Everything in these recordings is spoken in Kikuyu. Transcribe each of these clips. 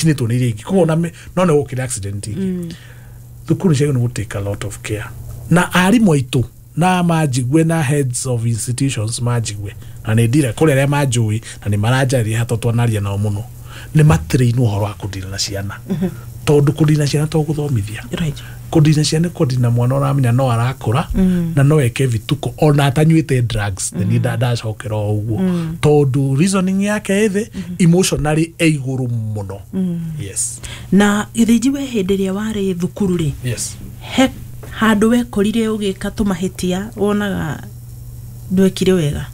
Icinĩtwo nĩ iria ingĩ, koguo ona no nĩ gũkĩrĩ accident ingĩ. Thukuru nĩ ciagĩrĩirwo nĩ gũ take a lot of care, na arimũ aitũ na manjigue na heads of institutions manjigue, na nĩ ndira kũrĩ arĩa manjũĩ na nĩ maranjarĩria hato twanaria nao mũno, nĩ matrainwo ũhoro wa kũdeal na ciana, tondũ kũdeal na ciana to gũthomithia. Kũdeal na ciana nĩ kũdeal na mwana ũramenya no arakũra na no eke vituko ona atanyuĩte drugs. Nĩ niĩ ndacokera o ũguo, tondũ reasoning yake ĩ thĩ, emotionally ĩ igũrũ mũno. Yes. Na Gĩthĩnji, we hĩndĩ ĩrĩa warĩ thukuru rĩ, he handũ wekorire ũgĩka tũmahĩtia wonaga ndwekire wega?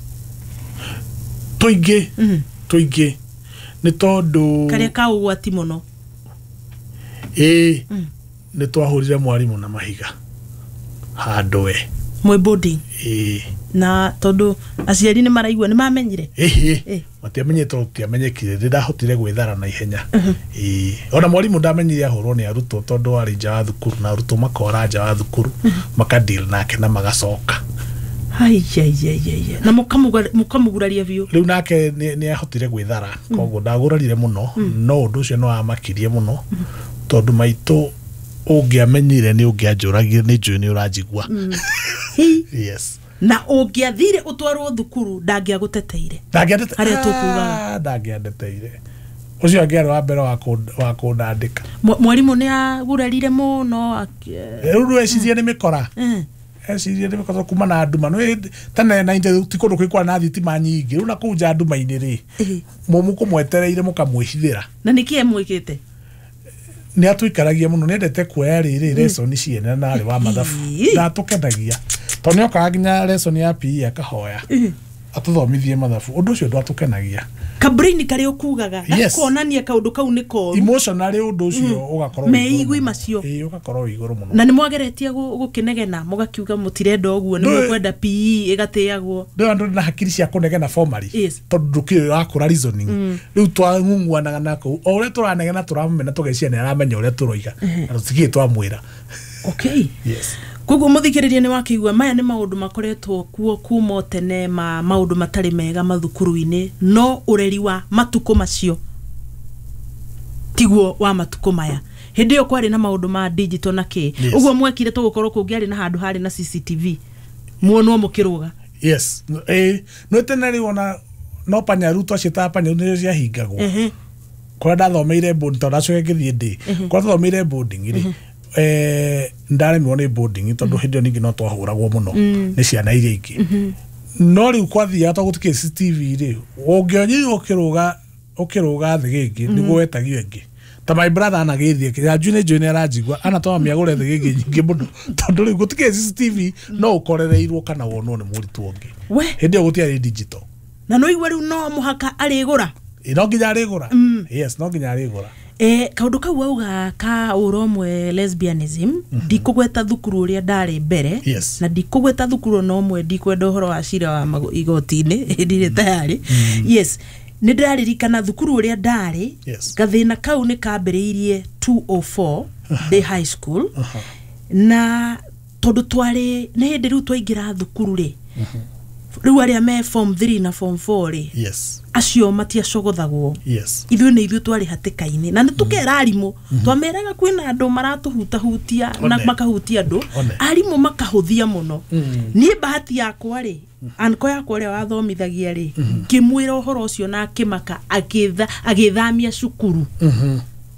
Tũingĩ, tũingĩ, nĩ tondũ Karĩa ka ũgwati mũno? Ĩĩ, nĩ twahũrire mwarimũ na mahiga handũ we. Mwĩ boarding? Ĩĩ. Na tondũ aciari nĩ maraigua, nĩ mamenyire? Ĩhĩ. Matiamenyire, tondũ tũtiamenyekire. Nĩ ndahotire gwĩthara na ihenya. Ĩĩ, ona mwarimũ ndamenyire ahũrwo nĩ arutwo, tondũ warĩ nja wa thukuru na arutwo makora nja wa thukuru, makadeal nake na magacoka. Aiaiaiaia, na mũkamũguraria biũ? Rĩu nake nĩ ahotire gwĩthara, koguo ndagũrarire mũno, no ũndũ ũcio nĩ wamakirie mũno, tondũ maitũ ũngĩamenyire nĩ ũngĩanjũragire. Nĩ njũĩ nĩ ũranjigua. Yes. Na ũngĩathire ũtwarwo thukuru, ndangĩagũteteire? Ndangĩandete. Harĩa tũkugaga. Ah, ndangĩandeteire. Ũcio angĩarĩ wa mbere wa kũndandĩka. Mwarimũ nĩ agurarire mũno? Rĩu rwecirie nĩ mĩkora. Ecirie nĩ mĩkora kuma na nduma. Nĩ tene na ti kũndũ kwĩ na thitima nyingĩ. Rĩu na kũu nja nduma-inĩ rĩ, mũkũmwetereire mũkamwĩhithĩra. Na nĩkĩ emwĩkĩte? Nĩ atũikaragia mũno, nĩ endete kuoya rĩrĩ lesson ciene na arĩ wa mathabu. Ndatũkenagia, tondũ nĩ okaga nginya lesson ya PE akahoya atũthomithie mathabu. Ũndũ ũcio ndwatũkenagia. Kabrain karĩa ũkugaga gakonania kaũndũ kau nĩ koru. Emotionally ũndũ ũcio ũgakorwo wĩ igũrũ Meigui mũno. Macio. Ĩĩ, ũgakorwo wĩ igũrũ mũno. Na nĩ mwageretie gũkĩnegena mũgakiuga mũtirenda ũguo, nĩ mũkwenda PE ĩgatĩagwo? Ndĩrona ndũrĩ na hakiri cia kũnegena formally, tondũ ndũkĩrĩ ũrakũra reasoning. Rĩu twang'ung'uanaga na kũu, o ũrĩa tũranegena tũramũmena, tũgeciria nĩ aramenya ũrĩa tũroiga, na tũtikĩrĩ twamwĩra. Yes. Koguo mũthikĩrĩria, nĩ wakĩigua maya nĩ maũndũ makoretwo kuo kuma o tene, ma maũndũ matarĩ mega mathukuru-inĩ, no ũreri wa matukũ macio tiguo wa matukũ maya. Hĩndĩ ĩyo kwarĩ na maũndũ ma digital na kĩ. Ũguo mwekire tũgũkorwo kũngĩarĩ na handũ harĩ na CCTV muonwo mũkĩrũga? Yes, ĩĩ, nĩ tene rĩu ona no panyaru twaciĩtaga panyaru, nĩcio ciahingagwo. Kũrĩa ndathomeire boarding, tondũ ndacoke ngĩthiĩ ndĩ kũrĩa twathomeire boarding rĩ, ndaremirwo nĩ boarding, tondũ hĩndĩ ĩyo ningĩ no twahũragwo mũno nĩ ciana iria ingĩ. No rĩu kwathiaga, tondũ gũtikĩrĩ CCTV rĩ, ũngĩonyirwo ũkĩrũga thĩgĩngĩ nĩguo wetagio ĩngĩ. Ta my brother anagĩthiĩ yanju, nĩ njũĩ nĩ aranjigua, anatũma mĩagũre thĩgĩngĩ nyingĩ mũno, tondũ rĩu gũtikĩrĩ CCTV, no ũkorereirwo kana wonwo nĩ mũrutwo ũngĩ. We. Hĩndĩ ĩyo gũtiarĩ digital. Na no igua rĩu no mũhaka arĩgũra? Ĩ, no nginya arĩgũra. Yes, no nginya arĩgũra. Kaũndũ kau wauga ka ũrũmwe, lesbianism, ndikũgweta thukuru ũrĩa ndarĩ mbere, na ndikũgweta thukuru ona ũmwe, ndikwenda ũhoro wa cira wa igoti-inĩ, ndirĩ tayarĩ. Yes, nĩ ndĩraririkana thukuru ũrĩa ndarĩ, gathĩna kau nĩ kambĩrĩirie 204 ndĩ high school, na tondũ twarĩ nĩ hĩndĩ rĩu twaingĩra thukuru rĩ, rĩu arĩa me form 3 na form 4 rĩ, acio matiacogothagwo. Ithuĩ nĩ ithuĩ twarĩ hatĩka-inĩ, na nĩ tũkera arimũ, twameraga kwĩna andũ maratũhutahutia na makahutia andũ. Arimũ makahũthia mũno. Niĩ bahati yakwa rĩ, anko yakwa ũrĩa wathomithagia rĩ, ngĩmwĩra ũhoro ũcio na akĩmaka, agĩthamia cukuru.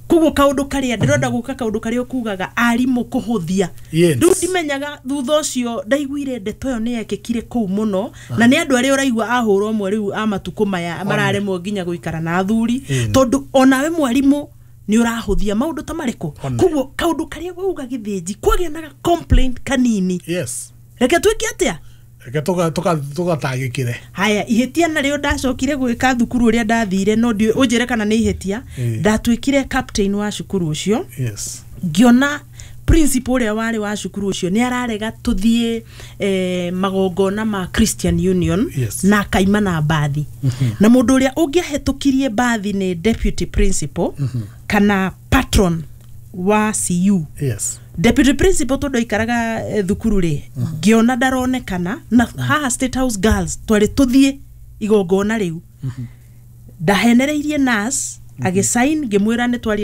Koguo kaũndũ karĩa ndĩrenda gũka, kaũndũ karĩa ũkugaga arimũ kũhũthia, rĩu ndimenyaga. Thutha ũcio ndaiguire ndeto ĩyo nĩ yekĩkire kũu mũno, na nĩ andũ arĩa ũraigua ahũra ũmwe rĩu a matukũ maya mararemwo nginya gũikara na athuri, tondũ onawe mwarimũ nĩ ũrahũthia maũndũ ta marĩkũ. Koguo kaũndũ karĩa wauga, Gĩthĩnji, kwagĩa na complaint kanini, reke twĩke atĩa? Reke tũgatangĩkĩre. Haya, ihĩtia narĩo ndacokire gwĩka thukuru ũrĩa ndathire, no ndiũĩ ũnjĩre kana nĩ ihĩtia, ndatuĩkire captain wa cukuru ũcio. Ngĩona principal ũrĩa warĩ wa cukuru ũcio nĩ ararega tũthiĩ magongona ma Christian Union, na akaima na mbathi, na mũndũ ũrĩa ũngĩahĩtũkirie mbathi nĩ deputy principal kana patron wa CU. Deputy principal, tondũ aikaraga thukuru rĩ, ngĩona ndaronekana, na haha State House Girls twarĩ tũthiĩ igongona rĩu, ndahenereirie nurse. Agĩsign, ngĩmwĩra nĩ twaria.